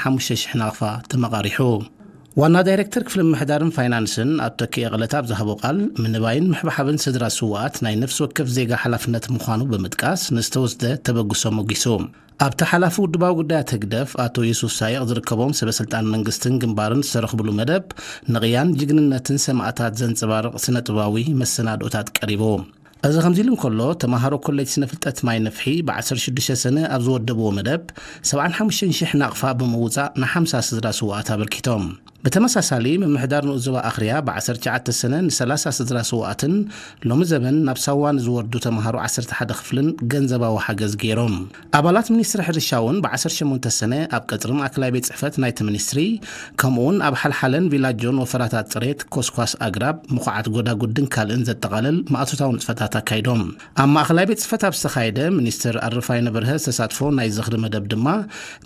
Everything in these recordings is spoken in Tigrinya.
ሓሙሽተ ሽሕ ናቕፋ ተመቓሪሑ። ዋና ዳይሬክተር ክፍሊ ምምሕዳርን ፋይናንስን ኣቶ ተኪኤ ቅለታ ኣብ ዝሃቦ ቃል፣ ምንባይን ምሕብሓብን ስድራ ስውኣት ናይ ነፍሲ ወከፍ ዜጋ ሓላፍነት ምዃኑ ብምጥቃስ፣ ንዝተወስደ ተበግሶ ሞጊሱ። ኣብቲ ሓላፊ ውድባዊ ጉዳያት ህግደፍ ኣቶ ዩሱፍ ሳይቕ ዝርከቦም ሰበ ስልጣን መንግስትን ግንባርን ዝተረኽብሉ መደብ፣ ንቕያን ጅግንነትን ሰማእታት ዘንጸባርቕ ስነ ጥበባዊ መሰናድኦታት ቀሪቡ። እዚ ከምዚ ኢሉ እንከሎ፣ ተማሃሮ ኮሌጅ ስነ ፍልጠት ማይ ነፍሒ ብ ዓሰርተ ሽዱሽተ ሰነ ኣብ ዝወደብዎ መደብ፣ ሰብዓን ሓሙሽተን ሽሕ ናቕፋ ብምውጻእ ንሓምሳ ስድራ ስውኣት ኣበርኪቶም። ብተመሳሳሊ፣ ምምሕዳር ንኡስ ዞባ ኣኽርያ ብ ዓሰርተ ትሽዓተ ሰነ ንሰላሳ ስድራ ስውኣትን ሎሚ ዘበን ናብ ሳዋ ንዝወርዱ ተምሃሮ ዓሰርተ ሓደ ክፍልን ገንዘባዊ ሓገዝ ገይሮም። ኣባላት ሚኒስትሪ ሕርሻ እውን ብ ዓሰርተ ሸሞንተ ሰነ ኣብ ቀጽሪ ማእከላይ ቤት ጽሕፈት ናይቲ ሚኒስትሪ፣ ከምኡውን ኣብ ሓልሓለን ቪላጆን ወፈራታት ጽሬት፣ ኮስኳስ ኣግራብ፣ ምኹዓት ጎዳጉድን ካልእን ዘጠቓልል ማእቶታዊ ንጥፈታት ኣካይዶም። ኣብ ማእከላይ ቤት ጽሕፈት ኣብ ዝተኻየደ፣ ሚኒስትር ኣረፋይነ በርሀ ዝተሳትፎ ናይ ዝኽሪ መደብ ድማ፣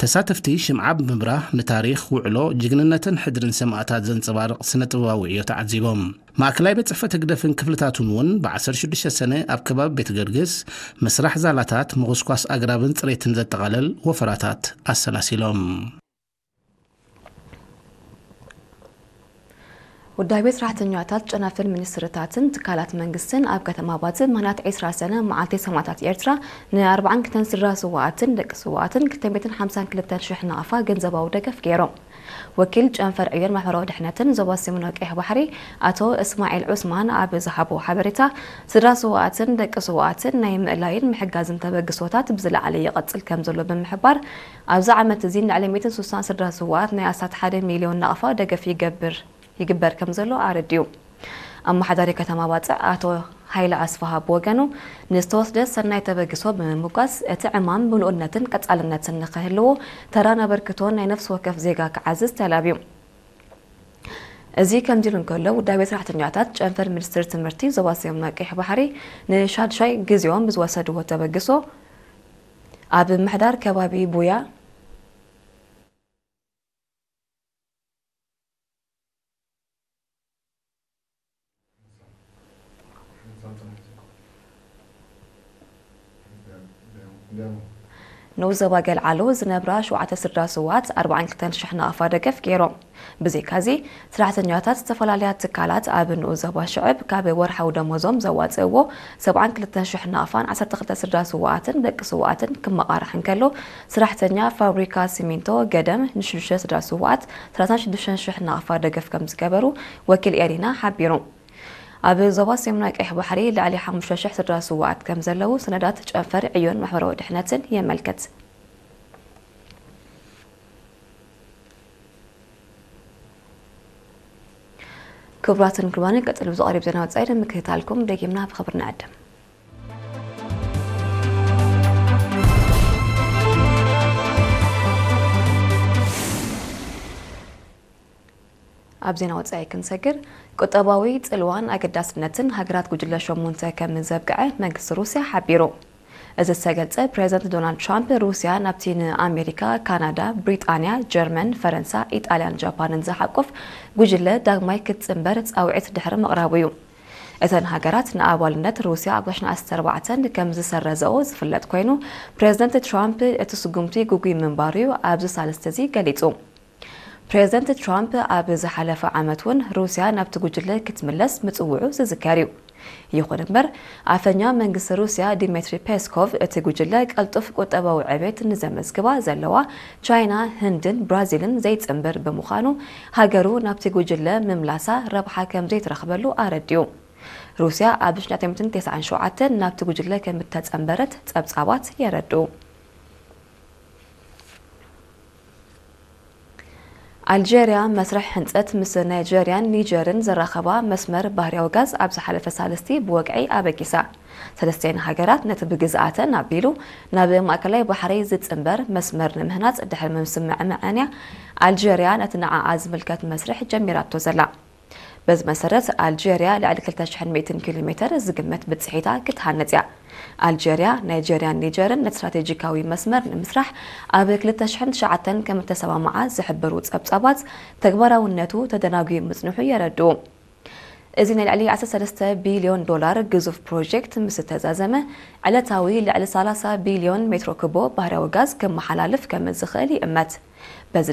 ተሳተፍቲ ሽምዓ ብምብራህ ንታሪኽ፣ ውዕሎ፣ ጅግንነትን ሕድርን ሰማእታት ዘንጸባርቕ ስነ ጥበባዊ ዕዮ ተዓዚቦም። ማእከላይ ቤት ጽሕፈት ህግደፍን ክፍልታቱን እውን ብ ዓሰርተ ሽዱሽተ ሰነ ኣብ ከባቢ ቤት ገርግስ ምስራሕ ዛላታት፣ ምኹስኳስ ኣግራብን ጽሬትን ዘጠቓለል ወፈራታት ኣሰላሲሎም። ውዳቤ ሰራሕተኛታት ጨናፍር ሚኒስትርታትን ትካላት መንግስትን ኣብ ከተማ ባጽዕ ምኽንያት ዕስራ ሰነ መዓልቲ ሰማእታት ኤርትራ ን ኣርባዓን ክልተን ስድራ ስውኣትን ደቂ ስውኣትን ክልተ ሚእትን ሓምሳን ክልተን ሽሕ ናቕፋ ገንዘባዊ ደገፍ ገይሮም። ወኪል ጨንፈር ዕዮን ማሕበራዊ ድሕነትን ዞባ ሰሜናዊ ቀይሕ ባሕሪ ኣቶ እስማዒል ዑስማን ኣብ ዝሃቦ ሓበሬታ፣ ስድራ ስውኣትን ደቂ ስውኣትን ናይ ምእላይን ምሕጋዝን ተበግሶታት ብዝለዓለ ይቐጽል ከም ዘሎ ብምሕባር፣ ኣብዚ ዓመት እዚ ንልዕሊ ሚእትን ስሳን ስድራ ስውኣት ናይ ኣስታት ሓደ ሚልዮን ናቕፋ ደገፍ ይገብር ይግበር ከም ዘሎ ኣረዲኡ። ኣመሓዳሪ ከተማ ባጽዕ ኣቶ ሃይለ ኣስፍሃ ብወገኑ፣ ንዝተወስደ ሰናይ ተበግሶ ብምምጓስ፣ እቲ ዕማም ምሉእነትን ቀጻልነትን ንኽህልዎ ተራን ኣበርክቶን ናይ ነፍሲ ወከፍ ዜጋ ክዓዝዝ ተላብዩ። እዚ ከምዚ ኢሉ እንከሎ፣ ውዳቤ ሰራሕተኛታት ጨንፈር ሚኒስትሪ ትምህርቲ ዞባ ሰሜን ቀይሕ ባሕሪ ንሻድሻይ ግዜኦም ብዝወሰድዎ ተበግሶ፣ ኣብ ምምሕዳር ከባቢ ቡያ ንኡስ ዞባ ገልዓሎ ዝነብራ ሸውዓተ ስድራ ስውኣት ኣርባዓን ክልተን ሽሕ ናቕፋ ደገፍ ገይሮም። ብዘይካዚ፣ ሰራሕተኛታት ዝተፈላለያ ትካላት ኣብ ንኡስ ዞባ ሽዕብ ካብ ወርሓዊ ደሞዞም ዘዋፅእዎ ሰብዓን ክልተን ሽሕ ናቕፋን ዓሰርተ ክልተ ስድራ ስውኣትን ደቂ ስውኣትን ክመቓራሕ እንከሎ፣ ሰራሕተኛ ፋብሪካ ሲሚንቶ ገደም ንሽዱሽተ ስድራ ስውኣት ሰላሳን ሽዱሽተን ሽሕ ናቕፋ ደገፍ ከም ዝገበሩ ወኪል ኤሪና ሓቢሩ። ኣብ ዞባ ሰሜናዊ ቀይሕ ባሕሪ ልዕሊ ሓሙሽተ ሽሕ ስድራ ስውኣት ከም ዘለዉ ሰነዳት ጨንፈር ዕዮን ማሕበራዊ ድሕነትን የመልክት። ክቡራትን ክቡራንን፣ ቀጺሉ ብዝቐርብ ዜና ወጻኢ ንምክትታልኩም ደጊምና ብኽብሪ ንዕድም። ኣብ ዜና ወጻኢ ክንሰግር፣ ቁጠባዊ ጽልዋን ኣገዳስነትን ሃገራት ጉጅለ ሸሞንተ ከም ዘብቅዐ መንግስቲ ሩስያ ሓቢሩ። እዚ ዝተገልጸ፣ ፕሬዚደንት ዶናልድ ትራምፕ፣ ሩስያ ናብቲ ንኣሜሪካ፣ ካናዳ፣ ብሪጣንያ፣ ጀርመን፣ ፈረንሳ፣ ኢጣልያን ጃፓንን ዝሓቁፍ ጉጅለ ዳግማይ ክትጽንበር ጻውዒት ድሕሪ ምቕራቡ እዩ። እተን ሃገራት ንኣባልነት ሩስያ ኣብ ክልተ ሺሕን ዓሰርተ ኣርባዕተን ከም ዝሰረዘኦ ዝፍለጥ ኮይኑ፣ ፕሬዚደንት ትራምፕ እቲ ስጉምቲ ግጉይ ምንባሩ እዩ ኣብዚ ሳልስቲ እዚ ገሊጹ። ፕሬዚደንት ትራምፕ ኣብ ዝሓለፈ ዓመት እውን ሩስያ ናብቲ ጉጅለ ክትምለስ ምጽውዑ ዝዝከር እዩ። ይኹን እምበር፣ ኣፈኛ መንግስቲ ሩስያ ዲሜትሪ ፔስኮቭ፣ እቲ ጉጅለ ቀልጡፍ ቁጠባዊ ዕቤት ንዘመዝግባ ዘለዋ ቻይና፣ ህንድን ብራዚልን ዘይጽንብር ብምዃኑ፣ ሃገሩ ናብቲ ጉጅለ ምምላሳ ረብሓ ከም ዘይትረኽበሉ ኣረዲኡ። ሩስያ ኣብ ሽሕን ትሽዓተ ሚእትን ተስዓን ሸውዓተን ናብቲ ጉጅለ ከም እተጸንበረት ጸብጻባት የረድኡ። ኣልጀርያ መስርሕ ህንጸት ምስ ናይጀርያን ኒጀርን ዘራኸባ መስመር ባህርያዊ ጋዝ ኣብ ዝሓለፈ ሳልስቲ ብወግዒ ኣበጊሳ። ሰለስቲኤን ሃገራት ነቲ ብግዝኣተን ኣቢሉ ናብ ማእከላይ ባሕሪ ዝጽንበር መስመር ንምህናጽ ድሕሪ ምስምዕማዐን እያ ኣልጀርያ ነቲ ንዓኣ ዝምልከት መስርሕ ጀሚራቶ ዘላ። በዚ መሰረት፣ ኣልጀርያ ልዕሊ ክልተ ሽሕን ሚእትን ኪሎ ሜተር ዝግመት ብጽሒታ ክትሃንጽ እያ። ኣልጀርያ፣ ናይጀርያን ኒጀርን ነቲ ስትራቴጂካዊ መስመር ንምስራሕ ኣብ ክልተ ሽሕን ትሽዓተን ከም እተሰማምዓ ዝሕብሩ ጸብጻባት፣ ተግባራውነቱ ተደናጒዩ ምጽንሑ የረድኡ። እዚ ናይ ልዕሊ ዓሰርተ ሰለስተ ቢልዮን ዶላር ግዙፍ ፕሮጀክት ምስ እተዛዘመ፣ ዕለታዊ ልዕሊ ሰላሳ ቢልዮን ሜትሮ ኩቦ ባህርያዊ ጋዝ ከመሓላልፍ ከም ዝኽእል ይእመት።